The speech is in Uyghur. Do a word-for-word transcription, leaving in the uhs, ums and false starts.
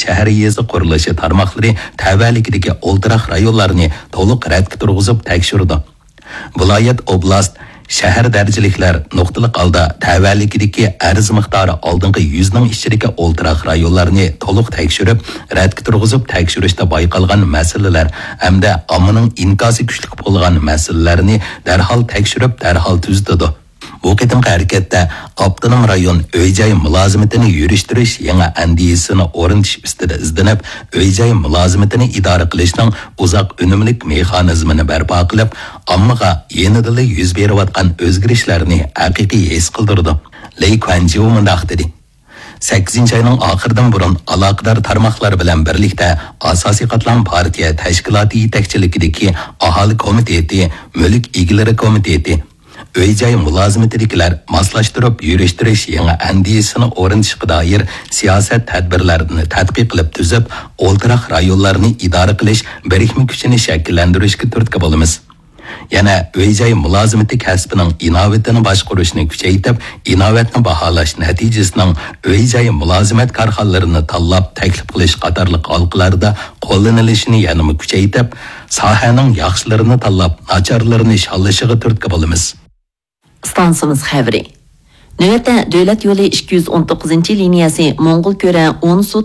شەھەر يېزا قۇرۇلۇشى تارماقلىرى تەۋەلىكىدىكى ئولتۇراق رايونلارنى تولۇق رەتكە تۇرغۇزۇپ تەكشۈرىدۇ. ۋىلايەت، ئوبلاست، شەھەر دەرىجىلىكلەر نۇقتىلىق ھالدا تەۋەلىكىدىكى ئەرز مىقدارى ئالدىنقى يۈزنىڭ ئىچىدىكى ئولتۇراق رايونلارنى تولۇق تەكشۈرۈپ، رەتكە تۇرغۇزۇپ تەكشۈرۈشتە بايقالغان مەسىلىلەر ھەمدە ئاممىنىڭ ئىنكاسى كۈچلۈك بولغان مەسىلىلەرنى دەرھال تەكشۈرۈپ، دەرھال تۈزىتىدۇ. بۇ قېتىمقى ھەرىكەتتە ئاپتونوم رايون ئۆي-جاي مۇلازىمىتىنى يۈرۈشتۈرۈش يېڭى ئەندىزىسىنى ئورنىتىش ئۈستىدە ئىزدىنىپ، ئۆي-جاي مۇلازىمىتىنى ئىدارە قىلىشنىڭ ئۇزاق ئۈنۈملۈك مېخانىزمىنى بەرپا قىلىپ، ئاممىغا يېنىدىلا يۈز بېرىۋاتقان ئۆزگىرىشلەرنى ھەقىقىي ھېس قىلدۇرىدۇ. لېي كۇەنجيو مۇنداق دېدى: سەككىزىنچى ئاينىڭ ئاخىرىدىن بۇرۇن ئالاقىدار تارماقلار بىلەن بىرلىكتە ئاساسىي قاتلام پارتىيە تەشكىلاتى يېتەكچىلىكىدىكى ئاھالە كومىتېتى، مۈلۈك ئىگىلىرى كومىتېتى، ئۆي-جاي مۇلازىمىتىدىكىلەر ماسلاشتۇرۇپ يۈرۈشتۈرۈش يېڭى ئەندىزىسىنى ئورنىتىشقا دائىر سىياسەت تەدبىرلەرنى تەتقىق قىلىپ تۈزۈپ، ئولتۇراق رايونلارنى ئىدارە قىلىش بىرىكمە كۈچىنى شەكىللەندۈرۈشكە تۈرتكە بولىمىز. يەنە ئۆي-جاي مۇلازىمىتى كەسپىنىڭ ئىناۋىتىنى باشقۇرۇشنى كۈچەيتىپ، ئىناۋەتنى باھالاش نەتىجىسىنىڭ ئۆي-جاي مۇلازىمەت كارخانىلىرىنى تاللاپ تەكلىپ قىلىش قاتارلىق ھالقىلاردا قوللىنىلىشىنى يەنىمۇ كۈچەيتىپ، ساھەنىڭ ياخشىلىرىنى تاللاپ، ناچارلىرىنى شاللىشىغا تۈرتكە بولىمىز. ئىستانسىمىز خەۋىرى. نۆۋەتتە دۆلەت يولى ئىككى يۈز ئون توققۇزىنچى لىنىيەسى موڭغۇل كۆرە ئونسۇ